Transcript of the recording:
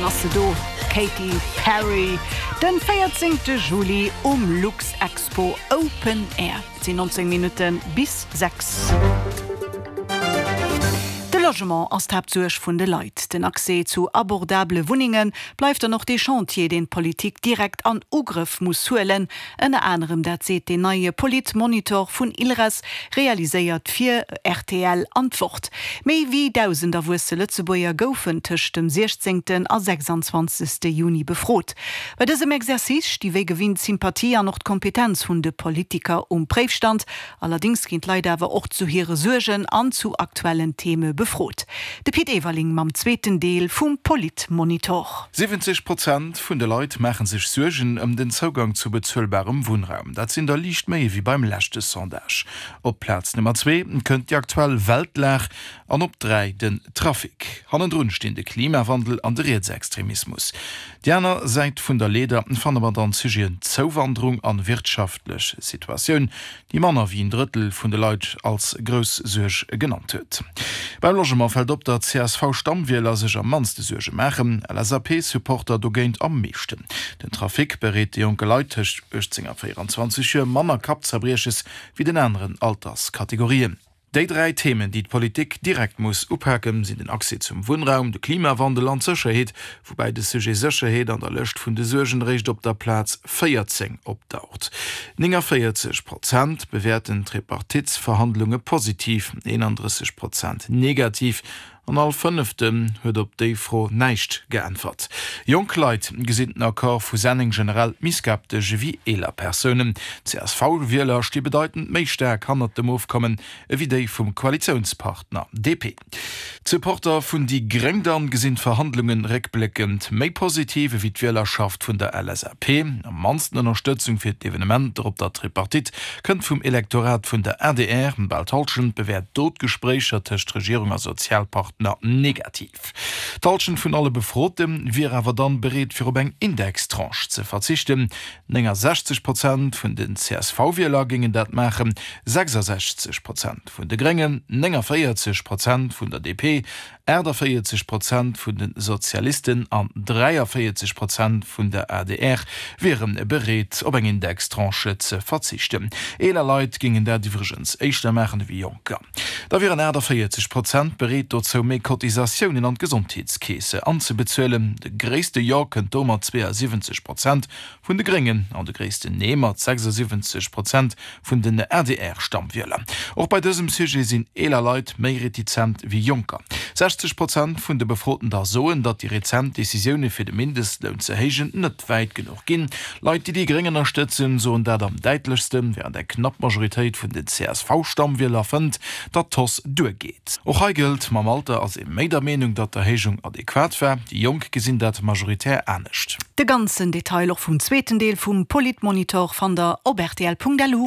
Dann ass se do, d'Katy Perry, den 14 Juli um Luxexpo Open Air. Et sinn 19 Minutte bis 6. De Logement ass d'Haaptsuerg vun de Leit. Den Accès zu abordabele Wunnenge bleift dann och dee Chantier, deen d'Politik direkt an Ugrëff muss huelen. Ënner anerem dat seet deen neie Politmonitor vun ILRES, realiséiert fir rtl an d'Wort. Méi wéi 1.000 erwuesse Lëtzebuerger goufen tëscht dem 16. a 26. Juni befrot. Bei dësem Exercice sti wéi gewinnt d'Sympathie an och d'Kompetenz vun de Politiker um Préifstand. Allerdéngs ginn d'Leit awer och zu hire Suergen an zu aktuellen Theme befrot. De Pit Everling mam zweeten Deel vum Politmonitor. 70 Prozent vun de Leit maache sech Suergen ëm den Zougang zu bezuelbarem Wunnraum. Dat sinn der liicht méi ewéi beim leschte Sondage. Op Plaz Nummer zwee kënnt déi aktuell Weltlag an op 3 den Trafic. Hannendrun stinn de Klimawandel an de Rietsextremismus. Déi aner Säit vun der Leeder fanne mer dann d'Sujeten Zouwanderung an wirtschaftlech Situatioun, déi manner wéi en Drëttel vun de Leit als grouss Suerg genannt huet. Beim Logement fält op, datt CSV-Stammwieler sech am mannste Suerge maachen, LSAP-Supporter dogéint am meeschten. Den Trafic bereet de jonke Leit tëscht 18 a 24 Joer manner Kappzerbrieches wéi den aneren Alterskategorien. Déi 3 Themen, déi d'Politik direkt muss upaken, sinn den Accès zum Wunnraum, de Klimawandel an d'Sécherheet, woubäi de Sujet Sécherheet an der Lëscht vun de Suergen eréischt op der Plaz 14 opdaucht. 49 Prozent bewäerten d'Tripartitsverhandlunge positiv, 31 Prozent negativ An all Fënneften huet op déi Fro näischt geäntwert. Jonk Leit gesinn den Accord vu Senneng generell méi skeptesch ewéi eeler Persounen. D'CSV-Wieler sti bedeitend méi staark hannert dem Ofkommen ewéi déi vum Koalitiounspartner DP. D'Supporter vun déi Gréng dann gesinn d'Verhandlunge réckbléckend méi positiv ewéi d'Wielerschaft vun der LSAP. Am mannsten Ënnerstëtzung fir d'Evenementer op der Tripartite Kënnt vum Elektorat vun der adr. Bal d'Hallschent bewäert do d'Gespréicher tëscht Regierung a Sozialpartner negativ. D'Hallschent vun alle Befrote wier awer dann bereet fir op eng Indextranche ze verzichten. 69 Prozent vun den CSV-Wieler géingen dat maachen, 66 Prozent vun de Gréngen, 49 Prozent vun der DP, 48 Prozent vun de Sozialisten an 43 Prozent vun der adr wiere bereet, op eng Indextranche ze verzichten. Eeler Leit géingen dat iwwregens éischter maachen ewéi Jonker. Da wieren 48 Prozent bereet dozou, méi Cotisatiounen an d'Gesondheetskeese anzebezuelen. De gréisste Jo kënnt do mat 72 Prozent vun de Gréngen an de gréissten Nee mat 76 Prozent vun den ADR-Stammwieler. Och bei dësem Sujet sinn eeler Leit méi retizent wéi Jonker. 60 Prozent vun de Befroten da soen, datt déi rezent Decisioune fir de Mindestloun ze héijen net wäit genuch ginn. Leit, déi déi Gréng ënnerstëtzen, soen dat am däitlechsten, wärend eng knapp Majoritéit vun den CSV-Stammwieler fënnt, datt d'Hausse duergeet. Och hei gëllt, mam Alter ass ee méi der Meenung, datt d'Erhéijung adequat war. Déi Jonk gesinn dat majoritär anescht. De ganzen Detail och vum zweeten Deel vum Politmonitor fannt der op rtl.lu.